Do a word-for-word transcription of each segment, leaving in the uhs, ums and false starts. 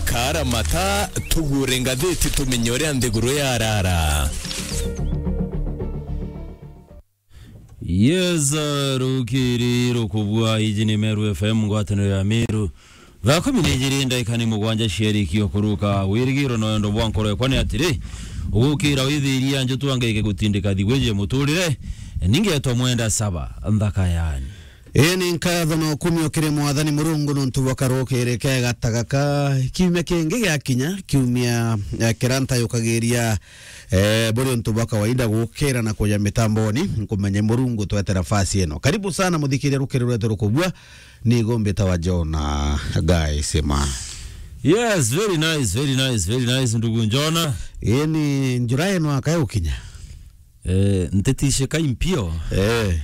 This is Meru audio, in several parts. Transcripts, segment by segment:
Kaara mata, tugure ngathiti tumenye uria nthiguru yarara. Yes, uh, rukiri rukubua, iji ni Meru F M, ngwataniro ya Meru. Thaa kumi na ijiri ndagika ni mugwanja ciarikio kuruka. Wirigiro na wendo bwa nkoro ekwa ni atiri, ugukira withiria njutu angaike gutindika thigwiji muturire, ningetwa mwenda saba, nthaka yani. Ii ni nkatho na ukumio kiri Mwathani Murungu nuntu bwa karukiri kega ta gaka. Kiumia kingi giakinya, kiumia, eh, kiria ntayukagiria, eh, buri untu bwa kawaida gukira na kuja mitamboni, nkumenye Murungu twete nafasi ino. Karibu sana muthikiria rukiri rwetu rukubua, ni igumbi ta wa Jona Gaisima. Yes, very nice, very nice, very nice, ndugu Njona. Ii ni njura ino akaya ukinya. Eh, ntitishika impio. Eh.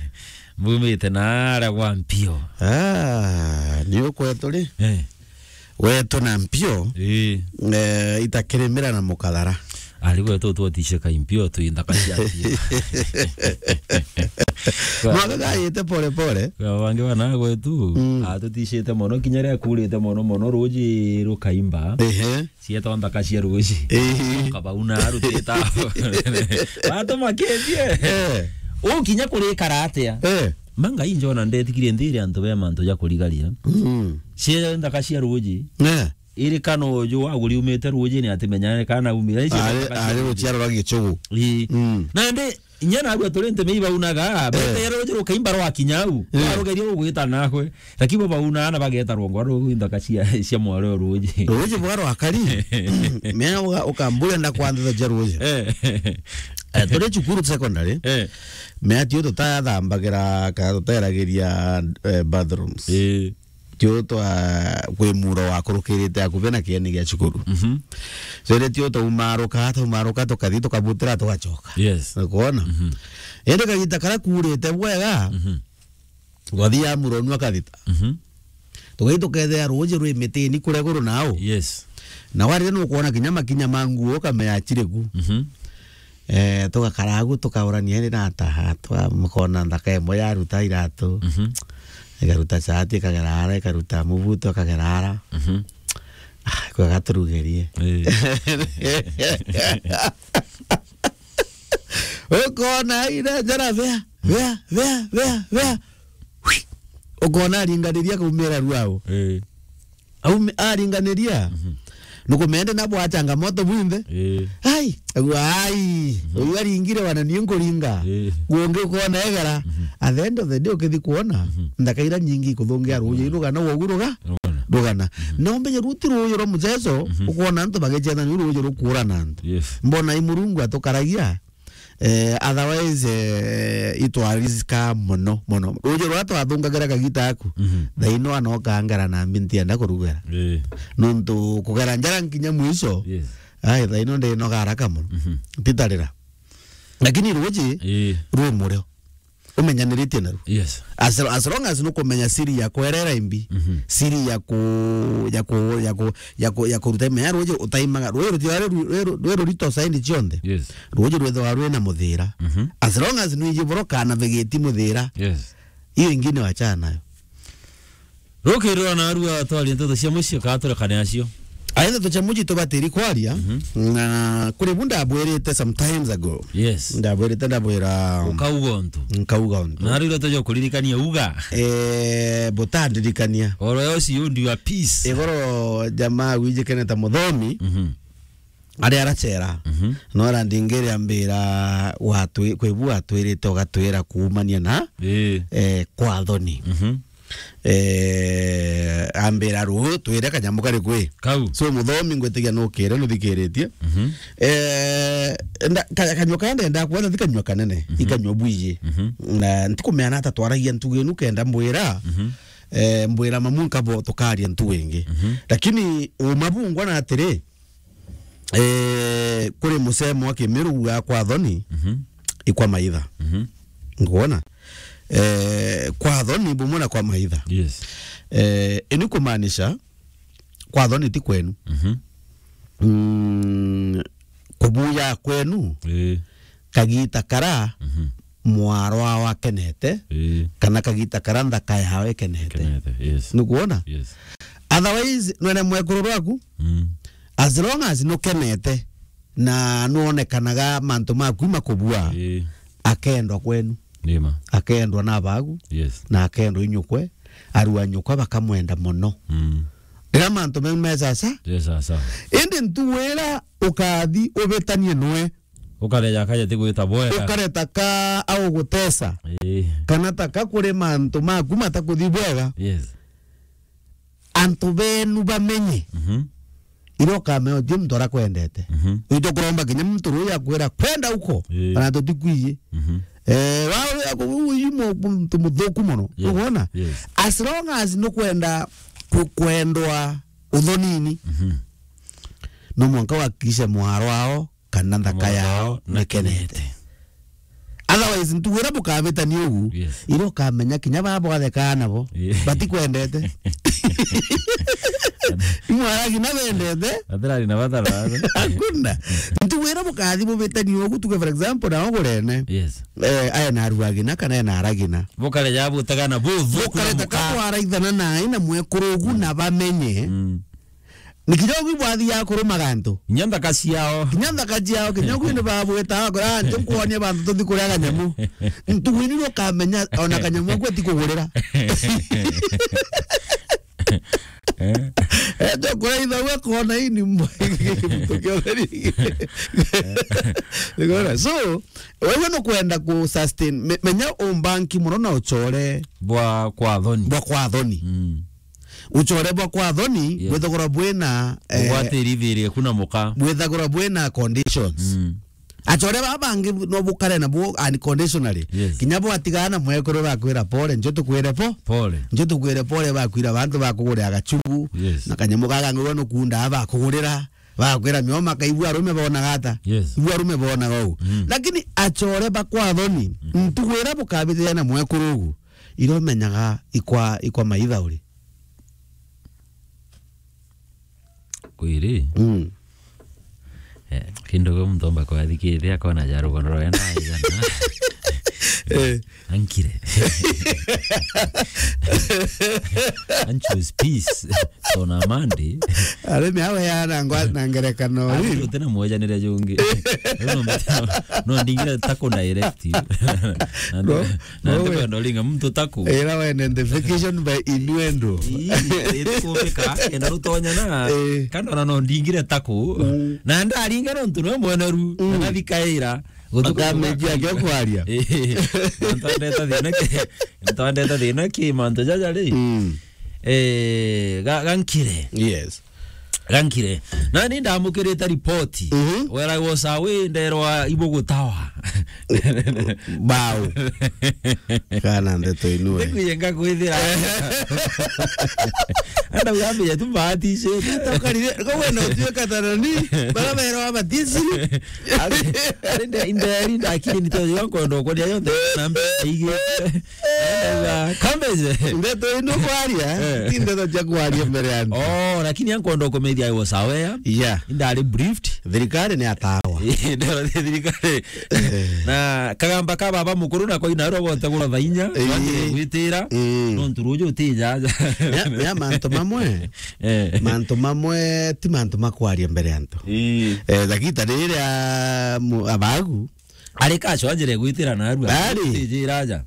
Mbumite na ara gwa mpio. Ah, ni ukwetu ri? Eh. Wetu na mpio. Eh. Eh, itakirimira na mukathara. Ari gwetu twatishika impio tu inthaka cia mpio. Mwaka gayite pole pole. Kwa wangi wana gwetu, mm, atutishite mono kinya ria kurite mono mono ruji rukaimba. Ehe. Cietwa nthaka cia ruji. Ii. Kabauna arutite. Watu maketie. Eh. Ukinya kurikara atia? Eh. Manga injona ndetikirie ndiri antu be mantu ja kurigaria. Mm. Cie nthaka cia ruji. Eh. Iri kana uju waguri umite ruji ni atimenyane kana umire. Icio ari, nthaka cia ari ruji. Ruciaro rwa gichugu. Ii. Mm. Na ndi Inya narua turi nteme ibaunaga, eh, bete ruji rukaimba rwakinya au, eh, warugeria ugwita nakwe. Lakini bo bauna na bageta rwongo ruu inthaka cia, cia mwaro ruji. Ruji bwa rwakari. Mea uga-, ukambura nda kwanditha ja ruji. Eh. Eh, turi cukuru secondary. Eh. Mea tio tutathambagira, ka tuteragiria, eh, bathrooms. Eh. Tio twa kwi muro wakurukirite akuvi na kieni gia cukuru. Mhm. So, indi tio twaumaruka, twaumaruka, tukathi, tukabutira, tugacoka. Yes. Ukuona? Mhm. Indi kagita karia kuurite bwega, mhm, twathi ya muro nua kathita. Mhm. Tugathi tukethira ruuji rwi mitini kuria iguru nau. Yes. Na warire nukwona kinya makinya ma nguo ukamenya aciri ku. Mhm. Eh, tugakara agu tukaurania indi na ata, twa-, mukona nthaka imwe yaruta iratu. Mhm. Ikaruta chati, ikagera ara, ikaruta mubuto, ikagera ara. Mhm. Ah, kwega turugerie. Eh. Ukona ina njara bea, bea, bea, bea, bea. Hui. Ukona aringaniria kaumira ruao. Eh. Aume-, aringaniria. Mhm. Nukumende nabo a changamoto bwinthe. Eh. Ai, agu, ai, mhm, uyu aringire wana ni nkuringa. Eh. Gungi ukona egera. Mhm. At the end of the day ukithi kuona, mhm, nthaka ira nyingi ikuthungia ruuji, mhm, rugana, wogu ruga-, rugana. Rugana. Mhm. Na umenye ruti ruuji rwa muchezo, mhm, ukona antu bagichetha ni ruuji rukurana antu. Yes. Mbona i Murungu atukaragia? Eh, otherwise, eh, itwarisika mono, mono. Ruuji ruria twathungagira kagita aku, mhm, thaino anokangara na mbi ntienda kurugera. Eh. Nontu kugera njara nkinya mwisho, yes, ai, thaino ndinoga haraka mono. Mhm. Ntitarira. Lakini ruuji, eh, rwi murio. Umenyaniritie naru. Yes. As, as long as nukumenya siri ya kwerera imbi, mhm, siri ya ku-, ya ku-, ya ku-, ya ku-, ya kuruta imenya ruuji utaimaga, ruuji rutiwa rwi ru-, rwi ru-, rwi rurito saindi cionthe. Yes. Ruuji rwithagwa rwina muthira. Mhm. As long as nwiji boro kana vegeti muthira. Yes. Hiyo ingine wachana nayo. Rukirira na arua twaria nteto cia mucii, kaa turekane acio. Aithe tucha muji tubatiri kwaria, mhm, na kuri bu ndabwirite some times ago. Yes. Ndabwirite, ndabwira, ukauga untu. Nkauga untu. Na riu tuja kuririkania uga. Eh, butandirikania. Oro yo si undi wa peace. Igoro jamaa wijikene ta muthomi. Mhm. Aria arachera. Mhm. No arandingire ambira, watwi-, kwi bu watwirite ugatwira kuumania na, eh, eh, kwa thoni. Mhm. Eh, ambira, ruu twire kanyamu kari kwi. Kau. So, muthomi ngwitigia nukire, nuthikiritie. Mhm. Eh, nda-, ka-, kanyua kaya ndenda kwetha ti kanyua kanene, mhm, i kanyua bwiji. Mhm. Na ntikumeana ata twaragia ntugu inu kenda mbwira, mhm, eh, mbwira mamu nkabo tukaria ntugu ingi. Mhm. Lakini uma bungwa na atiri, eh, kuri musemo wa Kimiru wa kwa thoni, mhm, i kwa maitha. Mhm. Nguona? Eh, kwa thoni bumwe na kwa maitha. Yes. Eh, ini kumaanisha, kwa thoni ti kwenu. Mhm. Mm, kubuya kwenu, eh, kagita kara, mhm, mwarwa wakenete, eh, kana kagita kara nthaka yawe ikenete. Ikenete, yes. Nukwona? Yes. Otherwise, nwene mwekuru rwaku, mm, as long as nukenete na nuonekanaga mantu maku makubua, Ii. Akendwa kwenu. Nima. Akendwa na bagu. Yes. Na akendwa inyukwe, arua nyukwa bakamwenda mono. Mm. Riria mantu meu me sasa. Yes, sasa. Indi ntugu iria ukathi ubitanie nwe. Ukareja akaja ti gwita bwega. Ukareta ka augutesa. Ii. Kana ta ka kuri mantu maku matakuthi bwega. Yes. Antu benu bamenye. Mhm. Iria ukamenya uti muntu arakwendete. Mhm. Wito kuromba kinya muntu uria akwira, "Kwenda uko, Ii. Kana tutikwiji." Mhm. Eh, wa uyu muntu muthuku mono. Yes. Ukwona? Yes. As long as nukwenda ku-, kwendwa uthonini, Mhm. no mwanka wakikishe mwaro wao kana nthaka yao nikenete. Otherwise, ntugu iria bukabitania ugu, Yes. iria ukamenya kinya baba bwathekaa nabo, Yeah. batikwendete. Imwaragi na bendete. Atirari na bata na bata. Hakuna. Ntugu iria bukathi bubitania ugu, tuge for example, na ugurene. Yes. Eh, aye na aruagina kana aye na aragina. Bukare ja butagana buthu. Bukareta ka kwaraithana na aina mwekuru ugu na bamenye. Mm. Ni kinya ugu bwathiaga kuruma gantu. Kinya nthaka ciao. Kinya nthaka ciao, kinya ugu ni babwita, akora, "Ah, nje nkuonie bantu tuthi kuria kanyamu." Ntugu ini nukamenya ona kanyamu aku atikugurira. Eh? Eh, nje kuria ithagu akona ini mbo-, muntu kiotheri. Nigora. So, wewe nukwenda ku sustain, me-, menya umbanki muno na uchore Bwa kwa thoni. Bwa kwa thoni. Mm. Uchore bwa kwa thoni, Yes. bwithagurwa bwina, eh, Ugwatiri thiiri eku na muka. Bwithagurwa bwina conditions. Mm. Achore baba bangi no bukare na bo unconditionally. Yes. Kinya bwatigana na mwekuru bakwira pole, njo tukwire po. Pole. Njo tukwire pole bakwira bantu bakugurira gachubu. Yes. Na kanyamu gaga ngurwa nukunda bakugurira. Bakwira mioma kaigua arume bona gata. Yes. Igua arume bona gau. Mm. Lakini achore bakwa thoni. Mm. Ntugu iria bukabithia na mwekuru ugu. Iromenyaga ikwa, ikwa maitha uri. Kwiri? Mm. Eh, kindu gwe muntu omba kwathikithia akona ja rugono rwenda igana. Eh. Ankire. And choose peace. So na Monday. Arimi awe ya na ngwa-, na ngerekano. Ari ri? Tena mwejanire jungi. No, no, no, ndingire taku direct. Na No. Na no, ndikwenda uringa muntu taku. Ira we identification by innuendo. Ii, iri kumbika, enda rutonya na, Eh. Kana ona no ndingire taku. Mm. Na ndaringa nontu nwe mweneru, Mm. Na nathikaira. Gutuku Akamejia kumbika. Akio kwaria. Eh. Ntondeta thina ki, ntondeta thina ki mantu jaja ri. Mm. Eh, ga-, gankire. Yes. Gankire. Nani ndamukirite ripoti. Mhm. Where I was away, nderwa ibugutawa. Bau. Kana ndeto inue. Ndikuye ngakwithira. Anda ugambe tu bahati she. Takarire, kwa wena utuika tanani, bara berwa batisi. Ari, ari nde, inde, ari nde akiri nito yo nkondo kuria yonthe na mbe igi. Kambeje. Ndeto ino kwaria, Eh. Ti ndeto cia kwaria mbere ya antu. Oh, lakini ankondo kumethia I was aware. Yeah. Indari briefed. Thirikari ni atawa. Ndero thirikari. Eh. Na kagamba ka baba mukuru na koina ro gote gura thainya, Eh. Twatire gwitira. Mm. Nontu ruju utija. Ya, ya mantu mamwe. Eh. Mantu mamwe, ti mantu makwaria mbere ya antu. Ii. Eh, thagita riria mu-, abagu. Ari kacho anjire gwitira narua. Ari. Tijira aja.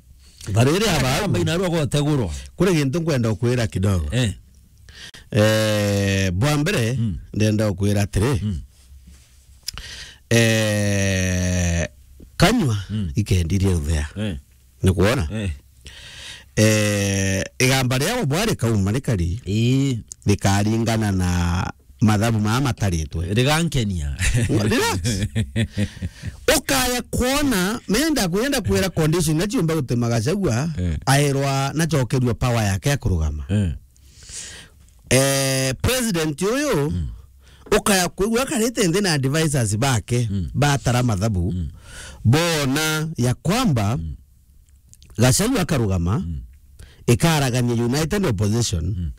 Bariri abagu. Amba inarua gotegurwa. Kuri gintu nkwenda ukwira kidogo. Eh. Eh, bwa mbere, Mm. ndenda ukwira atiri. Mm. Eh, kanyua Mm. ikendirie uthea. Eh. Ni kwona? Eh. Eh, igamba riao bwari kauma rikari. Ii. Rikaringana na mathabu maa mataritwe. Rigankenia. Relax. Ukaya kwona, menda kwenda kwira condition na ciumba gutema Gachagua, Eh. Aerwa na chokerua power yake ya kurugama. Eh. Eh, president uyu, Mm. Ukaya kwigua akarite nthi na advisors bake, Mm. batara mathabu, Mm. bona ya kwamba Mm. Gachagua akarugama, Mm. ikaragania United Opposition, Mm.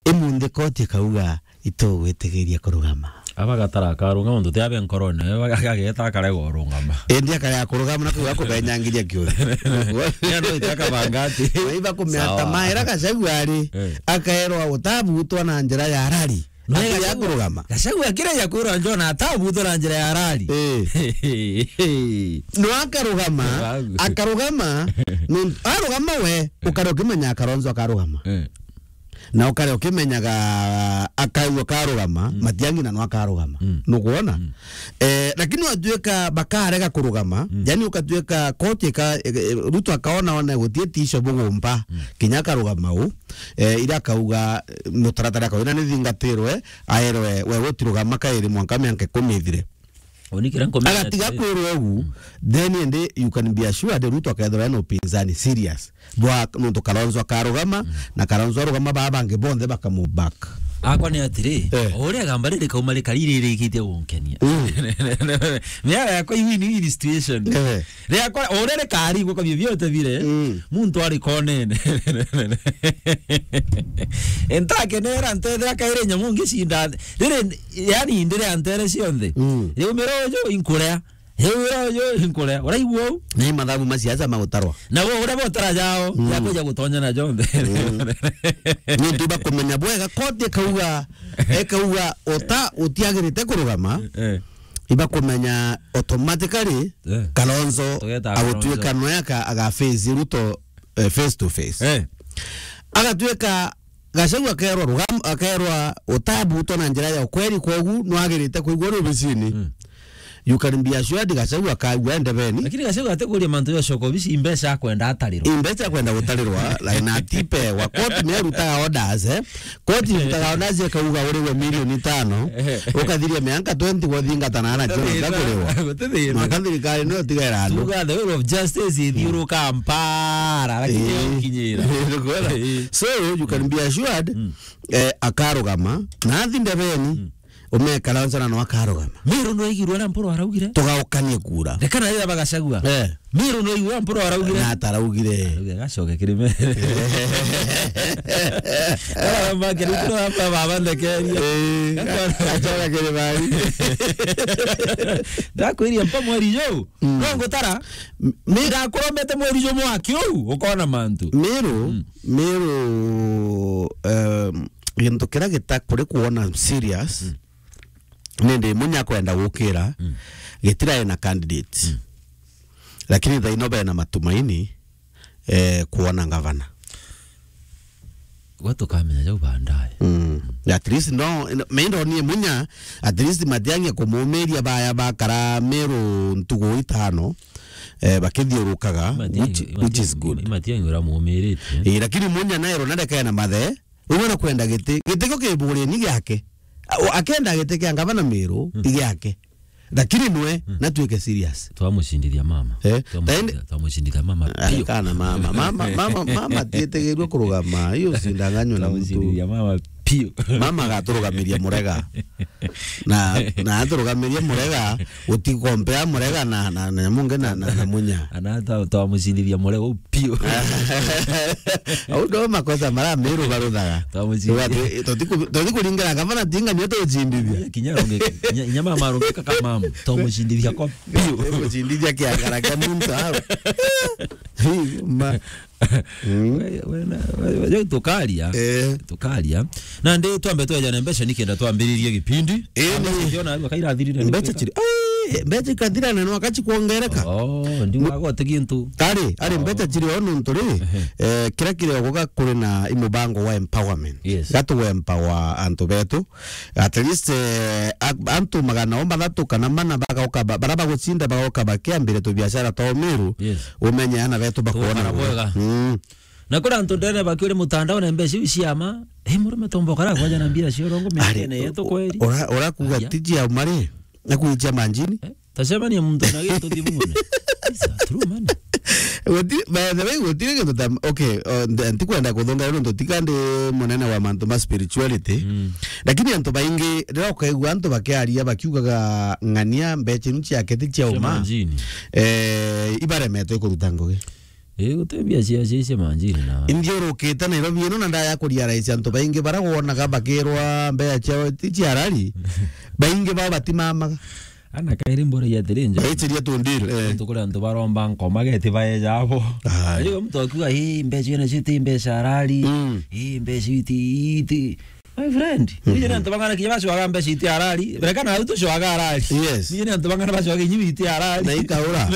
imunthi koti ikauga, "Itugwitigiria kurugama." Aba gatara akarugama, muntu ti abe nkorone, we agageta akarega urugama. Indi akarega kurugama na kuga kubenyangiria kiuri. Ya no itaka bangati. Maiba kumea Sawa. Tamaira Gachagua ari, Eh. Akaerwa utabutwa na njira ya rari. Nwe Gachagua, akurugama. Gachagua akireja kwirwa John atabuthura njira ya rari. Eh. No akarugama, Wagu. Akarugama, nun-, arugama we, ukare ukimenya Kalonzo akarugama. Eh. Na ukare ukimenyaga akaigua karugama, Mm. Matiang'i na no akarugama. Mm. Nukwona? Mm. Eh, lakini watuika bakarega kurugama, Mm. yani ukatuika koti ika, e, e, Ruto akaona one gutie tisho bugumpa, Mm. kinya akarugama u, eh, ira akauga, eh, mutaratara akauga, "Ina nithingatirwe, aerwe, we gutirugama kairi mwanka mianka ikumi ithire." Unikira nkomenya Agatiga atiri. Kwirwa ugu, Mm. then ende you can be assured Ruto akethirwa ena upinzani serious. Bwa nuntu Kalonzo akarugama, Mm. na Kalonzo arugama baa bangi bonthe bakamu back. Akwa ni atiri, Eh. o uria gamba riri kauma rikari ririkitie gunkenia. Mm. Miara yakwa iwini hii situation. Eh. Riakwa, o uria rikari guka vyovyote vile, Mm. muntu ari konene. Entakenera ntethera kaire nyamu ngicinda. Riri, yani, ndire antere cionthe. Mm. Riumira uju inkurea. Riumira uju inkurea. Uraigua u? Ni mathabu ma siasa magutarwa. Na bo uria botara jao, Mm. ya kuja gutonya na jonthe. Mm. Ni ntu bakumenya bwega, koti ikauga, ikauga uta utiagirite kurugama. Eh. Ibakumenya automatically Eh. Kalonzo Tugeta agutuika Kalonzo. Noe aka-, agaface Ruto, eh, face to face. Eh. Agatuika Gachagua akerwa rugam-, akerwa utabutwa na njira ya ukweri, kwogu nwagirite kuigua uri obisini. Mm. You can be assured Gachagua akaigua ndebeni. Lakini Gachagua atikuria mantu ya shoko bisi imbeca akwenda atarirwa. Imbeca akwenda gutarirwa, like, na tipe wa court ni arutaga orders, eh. Koti irutaga orders ikauga uriwe milioni tano, Eh. ukathiria mianka twenty guthingatana na Gachagua Gutithira, ndakuriwa. Gutithira. Mwaka thirikari niyo tigera andu. Tuga the will of justice ithiuruka mpara, lakini Eh. Ukinyira. Nikuona? Eh. So, you can be assured, Mm. eh, akarugama, na athi ndebeni, Mm. umekara onsana no akarugama. Miru nwaigirwe na Mpuru araugire? Tugaukanie kura. Reka na rira bagacagua. Eh. Miru nwaigirwe na Mpuru araugire? Na ataraugire. Araugire gacoke kiri me. Aramba kiri kura hapa baba ndekeria. Eh, gacoka kiri bari. Ndakwiria mpa mweri juu. Mm. No ngutara. M-, mi- Ndakurombete mweri jumwe wa kiu, ukona mantu. Miru, Mm. Miru, um, gintu kiria gita-, kuri kuona serious, Mm. ni ndi Munya kwenda gukira, Mm. gitirae na candidate. Mm. Lakini thaino bena matumaini, eh, kuona ngavana. Gwa tukamenya jau baadaye. Mm. At least no, no, me ndonie Munya, at least Matiang'i kumumiria baya bakara Meru ntugu itano, eh, bakithiurukaga, Matiang'i, which, which is Matiang'i, good. Matiang'i uramumirite. Eh, lakini Munya naye ronarekae na mathe, uwe na kwenda giti, giti kio kiburi ni giake. A-, o-, akenda giti kia ngavana Meru, Mm. i giake. Lakini nwe, Mm. na tuike serious. Twamucindithia mama. Eh, Twamucindithia, taende- twamucindithia mama Ah, piu. Kana mama. Mama, mama, mama tietegirwe kurugama. Hiyo sindanganywa na mtu. Twamucindithia mama piu. Mama agaturugamiria Murega. Na, na aturugamirie Murega, utikompea Murega na, na, na Munge na, na, na Munya. Ana twa-, twamucindithia Murega piu. Au ndo makosa mara Meru baruthaga. Twamucindithia. Tuga tu-, tutiku-, tutikuringira ngavana tinga nio tucindithia. Kinya aronge-, kinya, kinya mama arongeka kama mama. Twamucindithia kwa piu. Twamucindithia kiangara kia muntu au. Hii, ma-, Mm. We, we na, we, we, we, tukaria. Eh. Tukaria. Na ndi twambe twejane mbeca nikenda twambiririe gipindi. Eh, Mbeca ni- ciona arua kairathirire ni mbeca kwika. Chiri. Ai, mbeca ikathira na no akachi kuongereka. Oh, ndi wagote gintu. Ari, ari Oh. mbeca chiri ono nturi. Ehe. Eh, kira kiri ogoga kuri na imubango wa empowerment. Yes. Gatu empower antu betu. At least, eh, a-, antu magana o mathatu kana mana bagauka ba-, bara bagucinda bagauka bakiambire tubiashara twa Meru, Yes. umenye ana betu bakuona Tugakara bwega. Bwega. Mm. Na kuri antu ndene bakiuri mutandao na mbeca iu ciama, eh, murume tomba ukara kwaja na mbia cia urongo. Ari, miakene yetu kweri. Ura-, urakuga Aya. Tiji ya umari, na kuitia manjini. Eh? Tacemania muntu na gintu thimune. It's a true man. Guti-, by the way, gutiri gintu ta, okay, uh, nti-, ntikwenda kuthonga nontu tika ndi munene wa mantu ma spirituality. Mm. Lakini antu baingi, riria ukaigua antu bakiaria bakiugaga ng'ania mbeca iu ciake ti cia Cia uma, manjini. Eh, ibaremetwe kuruta ngugi. Ii, guti mbia cia, cia, cia manjini na. Inthiurukite Nairobi ino na ndaya kurealize antu baingi bara wonaga bakirwa mbeca ciao ti cia rari, baingi bao batimamaga. Ana kairi mbura ya atiri nja. Baitiria tu deal, eh. Antu kuri antu baromba nkoma geti baeja abo. Aye. Ayo mtu akiuga, "Hii mbeca ina cio ti mbeca rari. Mm. Hii mbeca iti, iti." My friend, nije ni antu bang'ana kinya bacwaga mbeca iti arari. Berekana au tucwaga arari. Yes. Nije ni antu bang'ana bacwaga inyi iti arari. Na ikaura.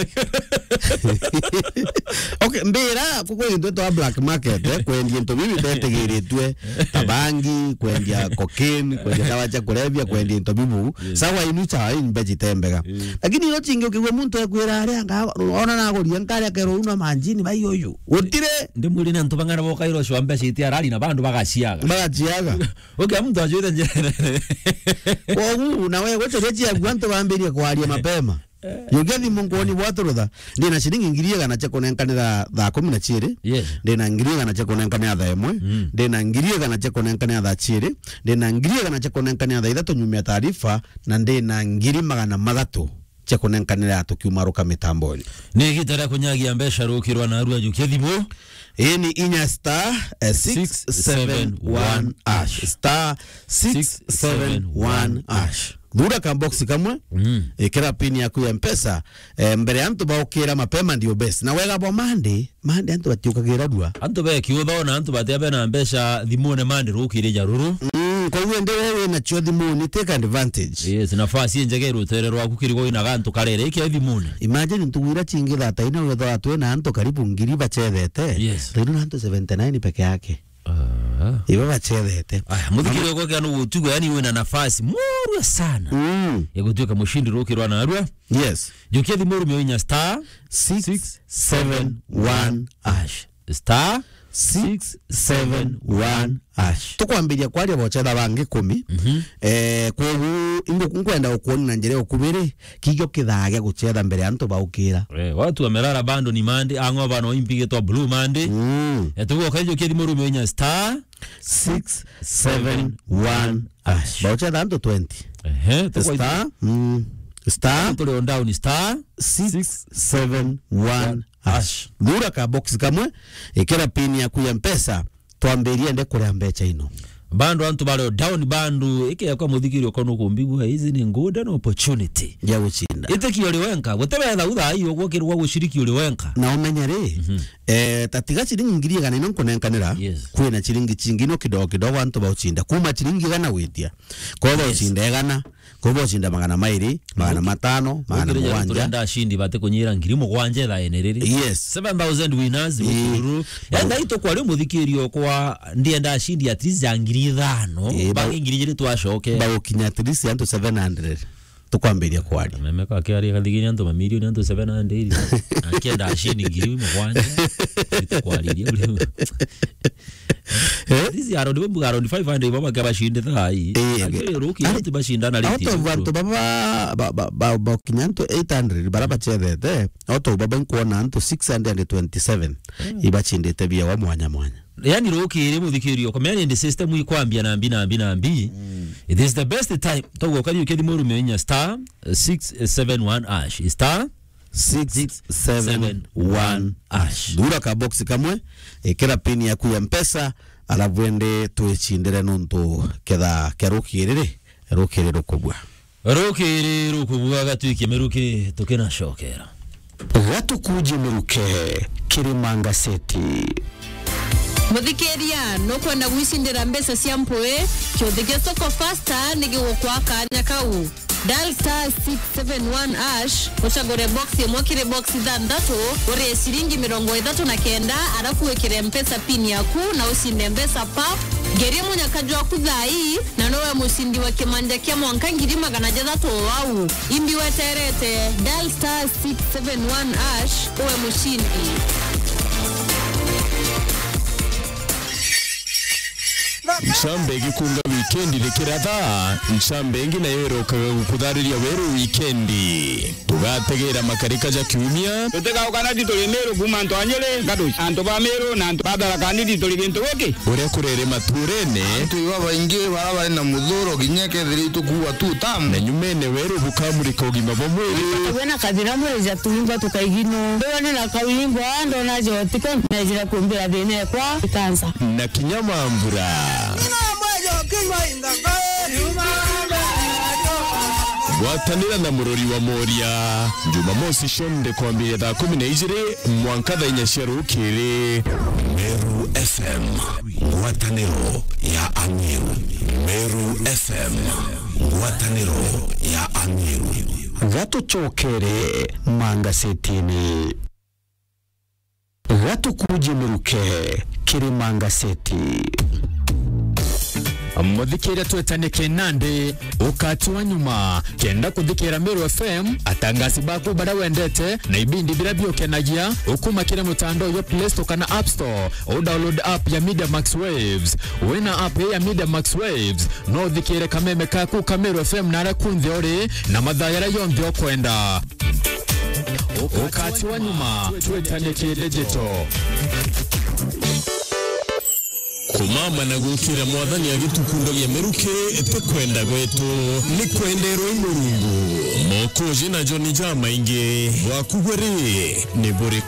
Okay, mbira, kuko into twa black market, eh, kwendia into bibi bitetegiritwe, ta bangi, kwendia cocaine, kwendia dawa cia kulevya, kwendia into bibu. Yes. Sawa, inu cha ini mbeca itembega. Yes. Lakini ino chingi ukigwa muntu ekwira aria anga, ona nagoria nkari akerwo una manjini bai uyu. Gutire. Ndi mwiri ni antu bang'ana bokairwo cwa mbeca iti arari na bandu bagaciaga. Bagaciaga. Okay, mtu ajuite njira. Kogu, na we gweteria ciaku antu bambirie kwaria mapema. Yukia thimu nkwoni bwaturutha. Ndi na ciringi ngiri igana cia kunenkanira thaa kumi na ciiri. Yes. Ndi na ngiri igana cia kunenkanira thaa imwe. Mm. Ndi na ngiri igana cia kunenkanira thaa ciiri. Ndi na ngiri igana cia kunenkanira thaa ithatu nyumia taarifa. Na ndi na ngiri magana mathatu cia kunenkanira tukiumaruka mitamboni. Ni igita ria kunyagia mbeca rukirwa na arua jukia thimu. Ii ni inya star, eh, six seven one hash. Star six seven one hash. Thura ka box kamwe, mm, ikira pin yaku ya Mpesa, eh, mbere ya antu baukira mapema ndio best. Na wega bo Monday, Monday antu batiukagira rua. Antu bekiutho na antu batia bena mbeca thimune Monday rukiri ja ruru. Mm, koguo ndi we wina cio thimuni, take advantage. Yes, nafasi injega irutere rwaku kirigo ina gantu karere, iki thimune. Imagine ntugu ira chingi thata ina wethwa twina antu karibu ngiri bachethete. Yes. Twina antu seventy nine peke yake. Ah. Ibo bachethete. Aya, muthikiri wako kia no gutugo, yani wina nafasi murua sana. Mm. Ya gutuika mushindi rukirwa na arua. Yes. Jukia thimu rumio inya star six seven one hash. Star six seven one hash. Tukwambiria kwaria bochetha bangi kumi. Mhm. Eh, kwogu ingo nkwenda ukuoni na njira ukubiri, kigio kithaa gia guchetha mbere antu baukira. Eh, watu wamelala bado ni Monday, ang'o bano impigitwa Blue Monday. Mm. Eh, tugoka ijo kia thimu rumio inya star six seven one hash. Baucha thantu twenty. Ehe, tukwa star, mm, star. Tuli on down, star six seven one hash. Thura ka box kamwe, ikira pin yaku ya Mpesa, twambirie nde kuria mbecha ino. Bandu antu bari on down, bandu, iki yakwa muthikiri uko nukumbigua, hizi ni golden opportunity ya guchinda. Ite ki uri wenka, gutebetha utha iyo gwakirwa gushiriki uri wenka. Na umenye ri, mhm. Eh, ta tiga ciringi ngiri igana ino nkunenkanira, yes, kwina ciringi chingi no kidogo kidogo antu bauchinda. Kuma ciringi igana gwitia. Kwa, yes, bauchinda igana, kwa bauchinda magana mairi, magana matano, magana mugwanja. Turenda ashindi bate kunyira ngiri mugwanja thaa ene riri. Yes. Seven thousand winners, ii, mukururu. Ba- Enda ito kwa ri muthikiri okwa ndienda ashindi at least ya ngiri ithano, ii, ba- bangi ngiri ijiri twacoke. Bagukinya at least antu seven hundred. Tukwambiria kwaria. Meme kwa kiaria kathigini antu mamilioni antu seven hundred. Akienda ashini ngiri mugwanja. Tukwariria uri. Eh? This around, we mbuga around five hundred baba kia bashinde thai. Eh, okay. Ruki antu bashindana riti. Out of antu baba, ba, ba, ba, ba, kinya antu eight hundred bara bachethete. Out of baba nkuona antu six hundred and twenty-seven. Mm. Ibachindite bia wa mwanya mwanya. Yani rukiri muthikiri uko, many in the system ikwambia nambi, nambi, nambi. Mm. It is the best time. Togo kari ukiri murume inya star six seven one hash. Star six seven one hash. Thura ka box kamwe, ikira pin yaku ya Mpesa, alafu ende twicindire nontu ketha kia rukiri ri, rukiri rukubua. Rukiri rukubua gatwikie miruki tukinacokera. Gatukuje miruke, Kirima Ngaseti. Muthikiria, nukwenda gwicindira mbeca cia mpui? Kiuthi gia Soko Fasta ni gigukwa kanya kau. Dial star six seven one hash, ucagure box imwe kiri box ithanthatu, urie ciringi mirongo ithatu na kenda, arafu wikire Mpesa pin yaku na ucinde mbeca pap. Ngeria munyaka jwaku thaa ii, na nowe mucindi wa kimanja kia mwanka ngiri magana jathatu o au. Imbi weterete, dial star six seven one hash, uwe mucindi. Ncambe igikunga wikendi rikiratha, ncambe ingi nayo irokaga gukuthariria weru wikendi. Tugategera makarika ja kiumia. Tutigauka na tituri Miru kuuma antu a Nyeri, Gaduci, antu ba Miru na antu ba Tharaka Nithi turi gintu giki. Uria kurere maturene. Antu iba baingi bara bari na muthuro kinya kethira itukuua tu tamu. Na nyumene weru bukamurika ugima bwa mwiri. Wena kathira mwiri ja tuingwa tukaigino. Ndona na kawingwa, ndona jotiko, na jira kumbira thina ekwa ikansa. Na kinya mambura. Gwatanira na Murori wa Moria, Jumamosi cionthe kwambiria thaa kumi na ijiri mwanka thaa inya cia rukiri. Meru F M, ngwataniro ya Amiru. Meru F M, ngwataniro ya Amiru. Gatucokere mangasetini. Gatukuje miruke kiri mangaseti. Muthikiria, twetane kinandi ukati wa nyuma. Kenda kuthikira Meru F M, atangasi baku baria wendete na ibindi biria biukenagia, ukuma kiri mutandao jwa Play Store kana App Store, u download app ya Media Max Waves. Wina app ya Media Max Waves, no uthikire kameme kaku ka Meru F M na aria kunthe uri na mathaa jaria jonthe ukwenda. Ukati wa nyuma, twetane ki digital. Kumama na gukira Mwathani agitukundagia miruki, ti kwenda gwetu, ni kwenderwa i Murungu. Mokoji na John jamaingi, bwaku bwe ri, ni buriku?